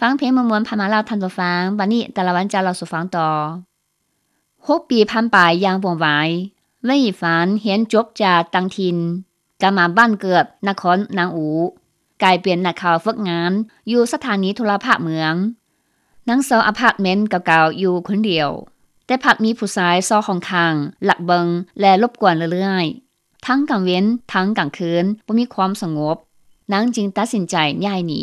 ຟັງເພງມ່ວນໆຜ່ານມາແລ້ວທ່ານຜູ້ຟັງ, ບັດນີ້ຕາລະວັນຈະເລົ່າສູ່ຟັງຕໍ່. ຫົກປີຜ່ານໄປຢ່າງວ່ອງໄວ, ເຫວີນອີ່ຝານຮຽນຈົບຈາກຕ່າງຖິ່ນ, ກັບມາບ້ານເກີດນະຄອນນາງອູ, ກາຍເປັນນັກຂ່າວຝຶກງານຢູ່ສະຖານີໂທລະພາບເມືອງ. ນາງເຊົ່າອາພາດເມັນເກົ່າໆຢູ່ຄົນດຽວ, ແຕ່ພັດມີຜູ້ຊາຍຊອກຫ້ອງຂ້າງ, ລັກເບິ່ງ ແລະ ລົບກວນເລື້ອຍໆ. ທັງກາງເວັນທັງກາງຄືນບໍ່ມີຄວາມສະຫງົບ, ນາງຈຶ່ງຕັດສິນໃຈຍ້າຍໜີ.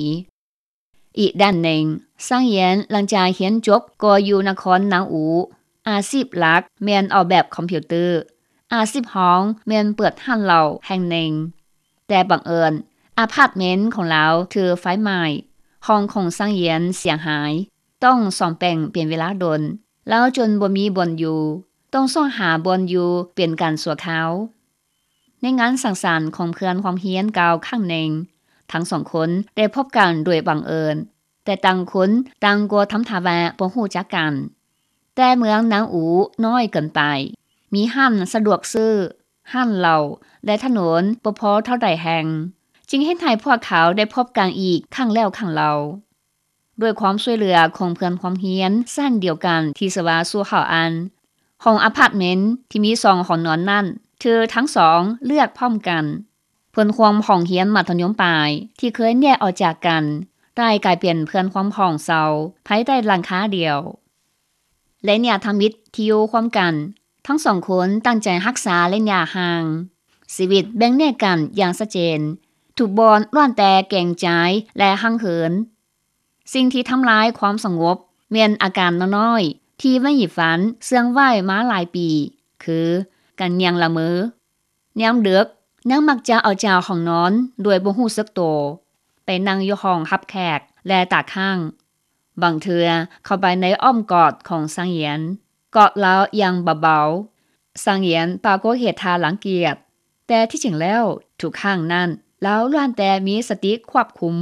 ອີກດ້ານໜຶ່ງ, ຊາງຢຽນຫຼັງຈາກຮຽນຈົບກໍຢູ່ນະຄອນນາງອູ, ອາຊີບຫຼັກແມ່ນອອກແບບຄອມພິວເຕີ, ອາຊີບຮອງແມ່ນເປີດຮ້ານເຫຼົ້າແຫ່ງໜຶ່ງ. ແຕ່ບັງເອີນ, ອາພາດເມັນຂອງລາວຖືກໄຟໄໝ້, ຫ້ອງຂອງຊາງຢຽນເສຍຫາຍ, ຕ້ອງສ້ອມແປງເປັນເວລາດົນ, ລາວຈົນບໍ່ມີບ່ອນຢູ່, ຕ້ອງຊອກຫາບ່ອນຢູ່ເປັນການຊົ່ວຄາວ. ໃນງານສັງສັນຂອງເພື່ອນຮ່ວມຮຽນເກົ່າຄັ້ງໜຶ່ງ, ທັງສອງຄົນໄດ້ພົບກັນໂດຍບັງເອີນ, ແຕ່ຕ່າງຄົນຕ່າງກໍທຳທ່າວ່າບໍ່ຮູ້ຈັກກັນ. ແຕ່ເມືອງນາງອູນ້ອຍເກີນໄປ, ມີຮ້ານສະດວກຊື້, ຮ້ານເຫຼົ້າ ແລະ ຖະໜົນບໍ່ພໍເທົ່າໃດແຫ່ງ, ຈຶ່ງເຮັດໃຫ້ພວກເຂົາໄດ້ພົບກັນອີກຄັ້ງແລ້ວຄັ້ງເລົ່າ. ດ້ວຍຄວາມຊ່ວຍເຫຼືອຂອງເພື່ອນຮ່ວມຮຽນຊັ້ນດຽວກັນທີ່ຊື່ວ່າຊູ່ເຮົາອັນ, ຫ້ອງອາພາດເມັນທີ່ມີສອງຫ້ອງນອນນັ້ນຖືກທັງສອງເລືອກພ້ອມກັນ. ເພື່ອນຮ່ວມຫ້ອງຮຽນມັດທະຍົມປາຍທີ່ເຄີຍແຍກອອກຈາກກັນ ໄດ້ກາຍເປັນເພື່ອນຮ່ວມຫ້ອງເຊົ່າພາຍໃຕ້ຫຼັງຄາດຽວ. ໄລຍະທຳອິດທີ່ຢູ່ຮ່ວມກັນ, ທັງສອງຄົນຕັ້ງໃຈຮັກສາໄລຍະຫ່າງ. ຊີວິດແບ່ງແຍກກັນຢ່າງຊັດເຈນ, ທຸກບ່ອນລ້ວນແຕ່ເກງໃຈ ແລະ ຫັງເຫີນ. ສິ່ງທີ່ທຳລາຍຄວາມສະຫງົບແມ່ນອາການນ້ອຍໆທີ່ເຫວີນອີ່ຝານເຊື່ອງໄວ້ມາຫຼາຍປີ, ຄືການຍ່າງລະເມີ. ຍາມເດິກ, ນາງມັກຈະອອກຈາກຫ້ອງນອນໂດຍບໍ່ຮູ້ສຶກໂຕ, ໄປນັ່ງຢູ່ຫ້ອງຮັບແຂກ ແລະ ຕາຄ້າງ. ບາງເທື່ອເຂົ້າໄປໃນອ້ອມກອດຂອງຊາງຢຽນ, ກອດລາວຢ່າງເບົາໆ. ຊາງຢຽນປາກົດເຮັດທ່າລັງກຽດ, ແຕ່ທີ່ຈິງແລ້ວ, ທຸກຄັ້ງນັ້ນ, ລາວລ້ວນແຕ່ມີສະຕິຄວບຄຸມ,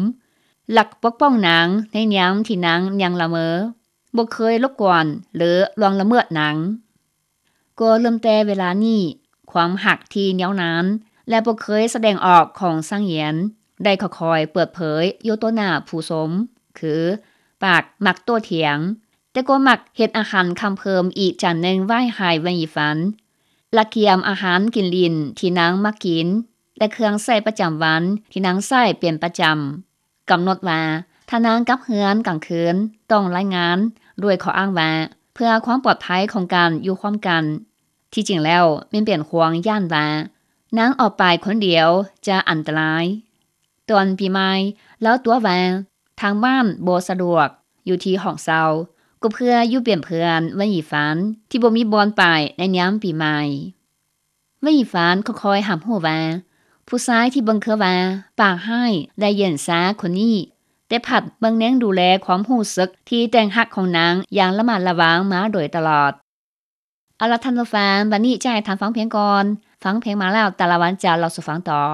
ຫຼັກປົກປ້ອງນາງໃນຍາມທີ່ນາງຍ່າງລະເມີ, ບໍ່ເຄີຍລົບກວນ ຫຼື ລ່ວງລະເມີດນາງ. ກໍເລີ່ມແຕ່ເວລານີ້, ຄວາມຮັກທີ່ຍາວນານ ແລະ ບໍ່ເຄີຍສະແດງອອກຂອງຊາງຢຽນ ໄດ້ຄ່ອຍໆເປີດເຜີຍຢູ່ຕໍ່ໜ້າຜູ້ຊົມ, ຄືປາກມັກໂຕ້ຖຽງ, ແຕ່ກໍມັກເຮັດອາຫານຄ່ຳເພີ່ມອີກຈານໜຶ່ງໄວ້ໃຫ້ເຫວີນອີ່ຝານ, ລະກຽມອາຫານກິນຫຼິ້ນທີ່ນາງມັກກິນ ແລະ ເຄື່ອງໃຊ້ປະຈຳວັນທີ່ນາງໃຊ້ເປັນປະຈຳ. ກຳນົດວ່າ ຖ້ານາງກັບເຮືອນກາງຄືນ ຕ້ອງລາຍງານ ດ້ວຍຂໍ້ອ້າງວ່າ ເພື່ອຄວາມປອດໄພຂອງການຢູ່ຮ່ວມກັນ. ທີ່ຈິງແລ້ວແມ່ນເປັນຫ່ວງຢ້ານວ່າ ນາງອອກໄປຄົນດຽວຈະອັນຕະລາຍ. ຕອນປີໃໝ່ ລາວຕົວະວ່າ ທາງບ້ານບໍ່ສະດວກ ຢູ່ທີ່ຫ້ອງເຊົ່າ, ກໍເພື່ອຢູ່ເປັນເພື່ອນເຫວີນອີ່ຝານທີ່ບໍ່ມີບ່ອນໄປໃນຍາມປີໃໝ່. ເຫວີນອີ່ຝານຄ່ອຍໆຮັບຮູ້ວ່າ ຜູ້ຊາຍທີ່ເບິ່ງຄືວ່າປາກຮ້າຍ ແລະ ເຢັນຊາຄົນນີ້ ແຕ່ພັດເບິ່ງແຍງດູແລຄວາມຮູ້ສຶກທີ່ແຕກຫັກຂອງນາງຢ່າງລະມັດລະວັງມາໂດຍຕະຫຼອດ. ເອົາລະທ່ານຜູ້ຟັງ, ບັດນີ້ຈະໃຫ້ທ່ານຟັງເພງກ່ອນ. ຟັງເພງມາແລ້ວ, ຕາລະວັນຈະເລົ່າສູ່ຟັງຕໍ່.